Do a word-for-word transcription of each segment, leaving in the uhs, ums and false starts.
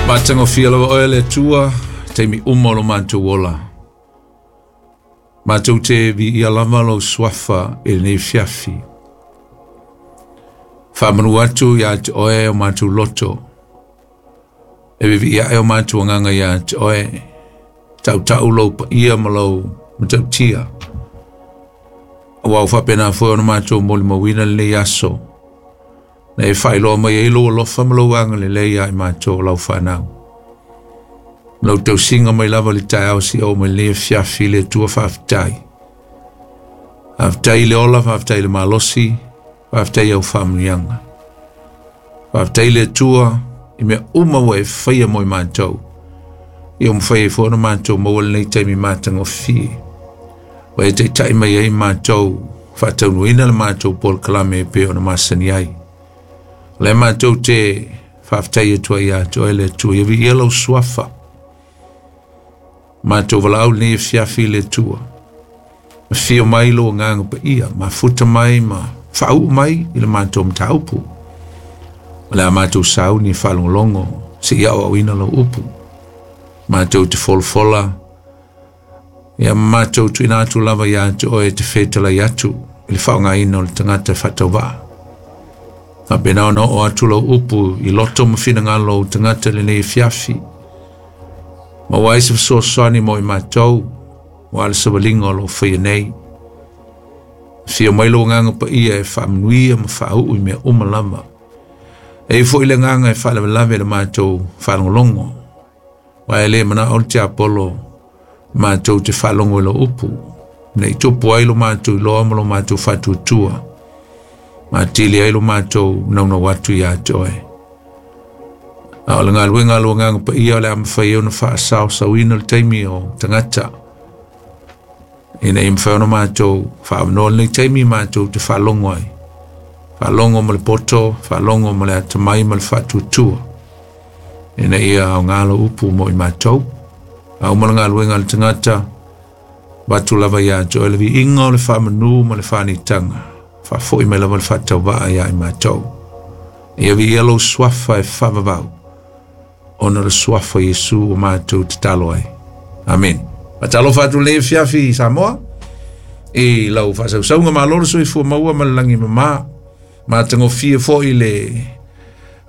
Matagofie lava oe le Atua taimi uma o lo matou ola. Matou te viia lava lou suafa i lenei fiafi. Faamanu atu iā te oe o matou loto. E viviia ae o matou agaga iā te oe. Tautau lou paia ma lou matautia. Ua ua faapena foi ona matou molimauina lenei aso. Na e faailoa mai ai lou alofa ma lou agalelei ia i matou o lau fanau. Lau tausiga mai lava le taeao seia oo mai lenei afiafi le Atua faafetai. Faafetai i le ola, faafetai i le malosi, faafetai i au faamanuiaga. Faafetai i le Atua i mea uma ua e faia mo i matou. Ia ua mafai ai foi ona matou maua lenei taimi matagofie. Ua e taitai mai ai matou faataunuuina le matou polokalame e pei ona masani ai. O lea matou te faafetai atu ai ia te oe le Atua, ia viia lau suafa. Matou valaau lenei afiafi i le Atua. Afio mai lou agaga paia, mafuta mai ma faauu mai i le matou mataupu. O le a matou sauni e faalogologo seia aoaoina lau upu. Matou te folafola, ia matou tuuina atu lava ia te oe te fetalai atu i le faaaogaina o le tagata faatauvaa. Faapena ona oo atu lau upu i loto ma finagalo o tagata lenei afiafi. Maua ai se fesoasoani mo i matou, ua le savaliga o loo faia nei. Afio mai lou agaga paia e faamanuia ma faauu i mea uma lava. E i ai foi le agaga e faalavelave i le matou faalogologo. Aua e le manao le tiapolo matou te faalogo i lau upu, ne i tupu ai lo matou iloa ma lo matou faatuatua, ma atili ai lo matou naunau atu ia te oe. A o le galuega a lou agaga paia o le a mafai ai ona faasaosaoina le taimi o tagata, ina ia mafai ona matou faaavanoa lenei taimi matou te faalogo ai. Faalogo ma le poto, faalogo ma le atamai ma le faatuatua, ina ia aoga lau upu mo i matou. A uma le galuega a le tagata, avatu lava ia te oe le viiga o le faamanu ma le faanitaga. Faafoi mai lava le faatauvaa ia i matou. Ia viia lou suafa e faavavau, ona o le suafa o Iesu ua matou tatalo ai. Amen. Faatalofa atu lenei afiafi i Samoa, i lau faasausauga malo le soifua maua ma le lagi mama. Matagofie foi le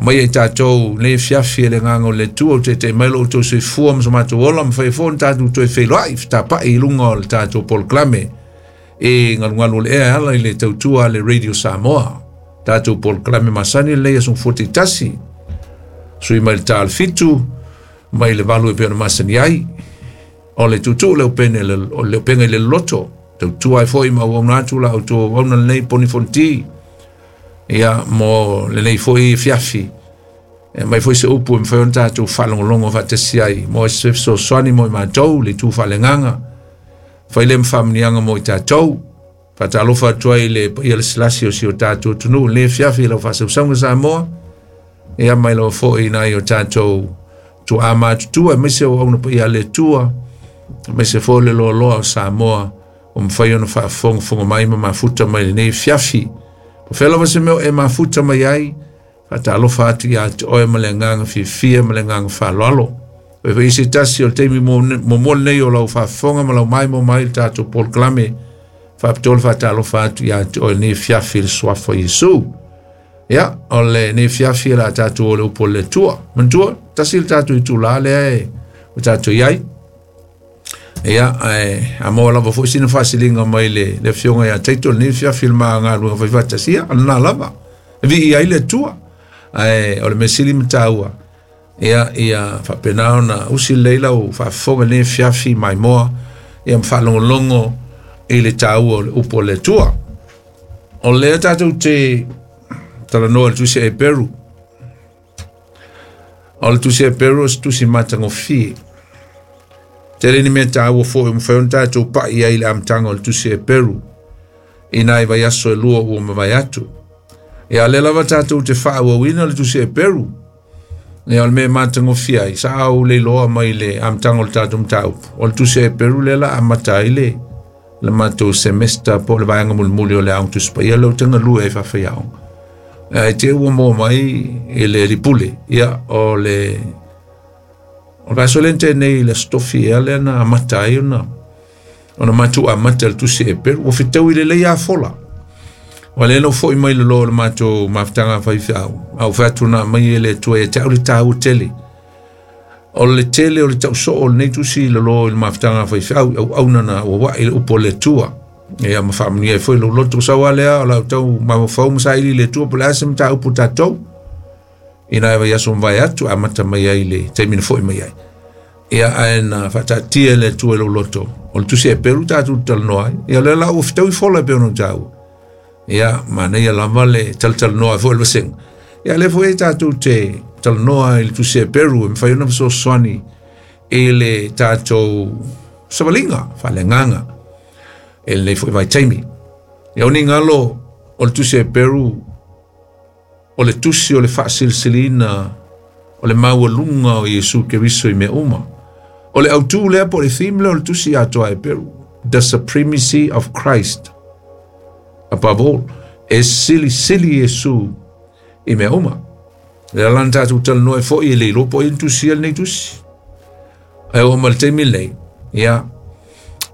mai ai tatou lenei afiafi e le agaga o le Atua o taitai mai lo outou soifua ma so matou ola, mafai foi ona tatou toe feiloai fetapai i luga o le tatou polokalame e galugalu o le ea e ala i le tautua a le Radio Samoa. Tatou polokalame masani lenei aso Gafoa tasi, sui mai le ta o le fitu mai le valu e pei ona masani ai. O le tuutuu le upene o le upega i le loto, tautua ai foi ma auauna atu la outou auauna lenei poni fonoti. Ia mo lenei foi fiafi. E mai foi se upu e mafai ona tatou faalogologo faatasi ai mo se fesoasoani mo i matou le itu faaleagaga. Fai lea ma faamanuiaga mo i tatou. Faatalofa atu ai i le paia lasilasi o si o tatou atunuu lenei afiafi i lau faasausauga Samoa. Ia mai lava foi nai o tatou tuaa matutua aemaise o auauna paia a le Atua, aemaise foi le loaloa o Samoa ua mafai ona faafogafoga mai ma mafuta mai lenei afiafi. Po fea lava se mea o e mafuta mai ai, faatalofa atu ia te oe ma le agaga fiafia ma le agaga faaaloalo. Oi foi se tasi o le taimi muamua lenei o lau faafofoga ma lau maimoa mai i le tatou polokalame, faapitoa le faatalofa atu ia te oe lenei afiafi i le suafa o Iesu. Ia, o lenei afiafi e le a tatou o le upu o le Atua. Manatua, tasi le tatou itula lea e ua tatou i ai. Ia, ae a maua lava foi sina faasiliga mai le, le afioga ia Taito lenei afiafi i le ma galuega faifaatasi, ia, o lena lava. E viia ai le Atua. Ae o le mea sili ma taua, ia, ia faapena ona usi lelei lau faafofoga lenei afiafi maimoa, ia ma faalogologo i le taua o le upu o le Atua. O lea tatou te talanoa i le tusi a Heperu. O le tusi a Heperu o se tusi matagofie. Tele ni mea taua foi ua mafai ona tatou pai ai i le amataga o le tusi a Heperu i nai vaiaso e lua ua mavae atu. Ia lea lava tatou te faaauauina le tusi a Heperu. Ia o le mea matagofie ai, sa ou le iloa mai le amataga o le tatou mataupu. O le tusi a Heperu lea la amata ai le le matou semester po o le vaega mulimuli o le Aoga Tusi Paia lea ou te galue ai faafaiaoga. Ae te ua maua mai i le lipule, ia o le O le vaiaso lea na tea nei i le Aso Tofi ea lea na amata ai ona ona matou amata i le Tusi Eperu. Ua fetaui lelei lava fola. Ua lea na ou foi mai lalo o le matou mafutaga faifeau, a ou fai atu na aumai e le Atua ia te au le taua tele. O le tele o le tausoo o lenei tusi i lalo i le mafutaga faifeau i auauna na auauai i le upu a le Atua. Ia ma faamanuia ai foi lou loto sau lava lea o la ou tau mafaufau ma saili i le Atua po o le a se mataupu tatou. Ina e vaiaso mavae atu amata mai ai le taimi na foi mai ai. Ia ae na faataatia e le Atua i lou loto o le Tusi Eperu tatou te talanoa ai. Ia o lea la ua fetaui fola e pei ona ou taua. Ia manaia lava le talatalanoa ai foi le vasega. Ia lea foi tatou te talanoa i le Tusi Eperu e mafai ona fesoasoani i le tatou savaliga faaleagaga e lenei foi vaitaimi. Ia o ni galo o le Tusi Eperu o le tusi o le faasilisiliina o le maualuga o Iesu Keriso i mea uma. O le autū lea po o le theme lea o le tusi atoa Eperu, the supremacy of Christ above all. E silisili Iesu i mea uma. Lea la na tatou talanoa ai foi e le iloa po o ai na tusia lenei tusi. Ae oo mai le taimi lenei, ia,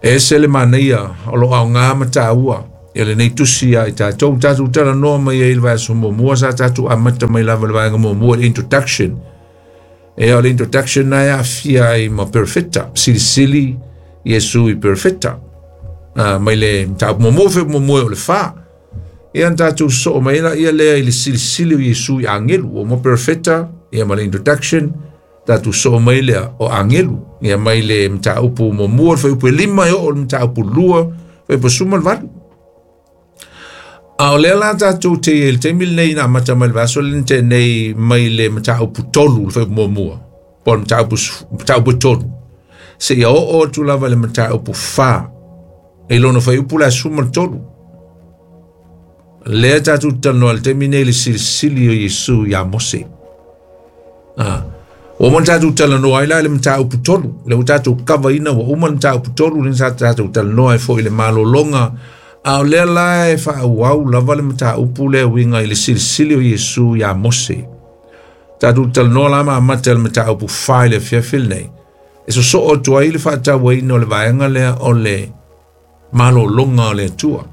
e ese le manaia o lo o aoga ma taua ia lenei tusi ia i tatou. Tatou talanoa mai ai i le vaiaso muamua, sa tatou amata mai lava i le vaega muamua, le introduction. Ia, o le introduction na e aafia ai ma perfecta, silisili Iesu i perfecta. Uh, mai le mataupu muamua fe muamua o le fa. Ia na tatou sosoo mai ai ia lea i le silisili o Iesu i agelu. O mo perfecta, ia ma le introduction, tatou sosoo mai lea o agelu. Ia mai le mataupu muamua, le fuaiupu e lima e oo i le mataupu lua, fuaiupu sefulu ma le valu. A o lea la tatou te i ai i le taimi lenei na amata mai le vaiaso lea na tea nei mai le mataupu tolu, le fuaiupu muamua, po o le mataupu, mataupu e tolu, seia oo atu lava i le mataupu fa, i lona fuaiupu le sefulu ma le tolu. Lea tatou te talanoa i le taimi nei i le silisili o Iesu ia Mose. Ah. Ua uma ona tatou talanoa ai la i le mataupu tolu, lea ua tatou kavaina ua uma le mataupu tolu, lea sa tatou talanoa ai foi i le malologa. A o lea la e faaauau lava le mataupu lea e uiga i le silisili o Iesu ia Mose. Tatou talanoa la ma amata i le mataupu fa i le afiafi lenei, e sosoo atu ai le faatauaina o le vaega lea o le malologa o le Atua.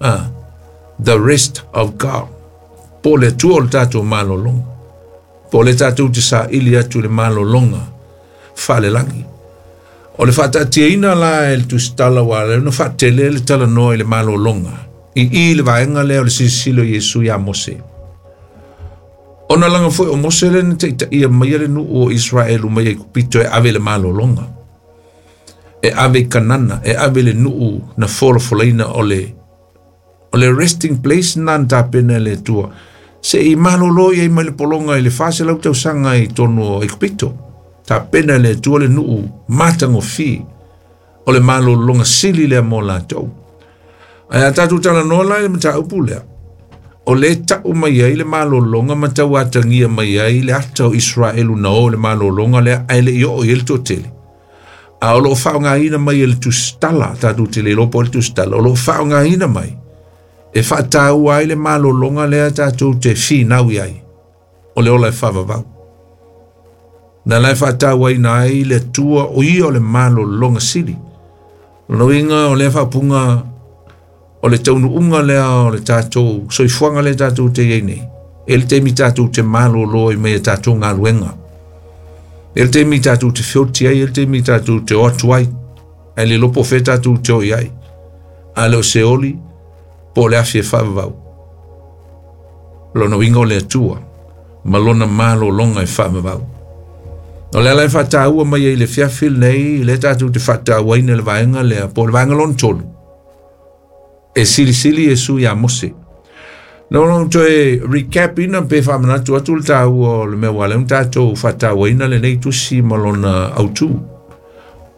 Ah, the rest of God. Po o le Atua o le tatou malologa. Po o le tatou te saili atu i le malologa faalelagi. O le faataatiaina la e le Tusitala ua ala ai ona faatele le talanoa i le malologa i i le vaega lea o le silisili o Iesu ia Mose. Ona laga foi o Mose lea na taitaia maia le nuu o Israelu mai Aikupito e ave le malologa, e ave i Kanana, e ave le nuu na folafolaina o le o le resting place na na tapena e le Atua se i malolo i ai mai le pologa i le fa selau tausaga i totonu o Aikupito. Tapena e le Atua le nuu matagofie o le malologa sili lea mo latou. Ae a tatou talanoa la i le mataupu lea, o le tau mai ai le malologa ma tauatagia mai ai le ata o Israelu na o le malologa lea ae le i oo i ai le toatele. A o lo o faaaogaina mai e le Tusitala, tatou te le iloa po o le Tusitala, o lo o faaaogaina mai e faataua ai le malologa lea tatou te finau i ai, o le ola e faavavau. Na la e faatauaina ai le Atua o ia o le malologa sili. Lona uiga o lea faapuga o le taunuuga lea o le tatou soifuaga lea tatou te i ai nei. E le taimi tatou te malolo ai mai a tatou galuega. E le taimi tatou te feoti ai, e le taimi tatou te o atu ai. Ae le iloa po o fea tatou te o i ai. A le o Seoli, po o le afi e faavavau. Lona uiga o le Atua ma lona malologa e faavavau. O le ala e faataua mai ai i le afiafi lenei, lea tatou te faatauaina le vaega lea, po o le vaega lona tolu, e silisili Iesu ia Mose. Na ona toe recap ina pe faamanatu atu le taua o le mea ua ala ai ona tatou faatauaina lenei tusi ma lona autū.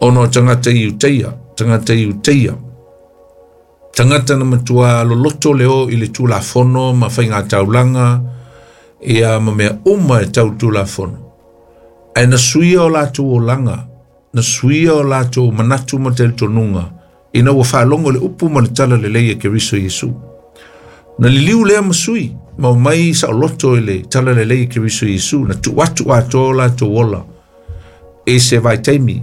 Ona o tagata i Iuteia, tagata i Iuteia, tagata na matua loloto le o i le Tulafono ma faigataulaga, ia ma mea uma e tau Tulafono. Ae na suia o latou olaga, na suia o latou manatu ma talitonuga, ina ua faalogo le upu ma le tala lelei e Keriso Iesu. Na liliu lea ma sui, ma omai saoloto i le tala lelei e Keriso Iesu, na tuu atu atoa o latou ola I se vaitaimi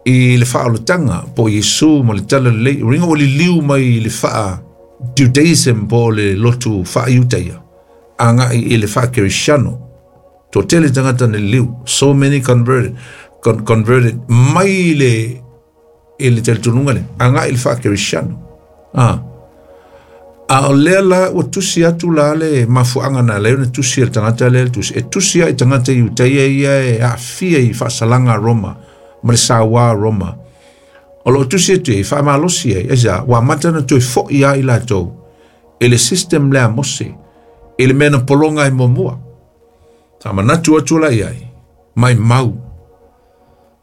i le faaolataga po o Iesu ma le tala lelei uiga ua liliu mai i le faa Judaism po o le lotu faaiutaia agai i le faakerisiano. Toatele tagata na liliu, so many converted con converted mai le i le talitonuga lea agai i le faakerisiano. Ah, a o lea la ua tusi atu la le mafuaaga na lea ona tusi e le tagata lea le tusi e tusi ai tagata Iutaia ia e aafia i faasalaga a Roma ma le sauā a Roma o loo tusi atu ai faamalosi ai aisa ua amata ona toe fo'i ai latou i le system lea a Mose i le mea na pologa ai muamua. Sa manatu atu la i ai mai mau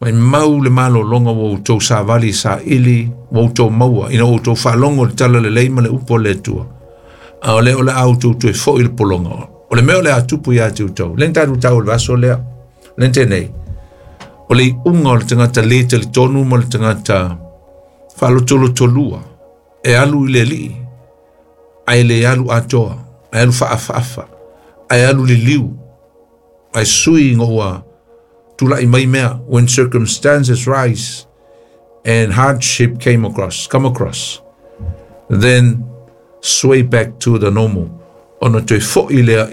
mai mau le malologa ua outou savali saili ua outou maua ina ua outou faalogo i le tala lelei ma le upu a le Atua a o lea o le a outou toe fo'i i le pologa o le mea o le a tupu iā te outou lea na tatou tau i le vaiaso lea lea na tea nei o le iuga o le tagata lē talitonu ma le tagata faalotolotolua e alu i le alii ae le alu atoa ae alu faaafaafa ae alu liliu ae sui ina ua tula'i mai mea. When circumstances rise and hardship came across come across, then sway back to the normal ona toe fo'i lea.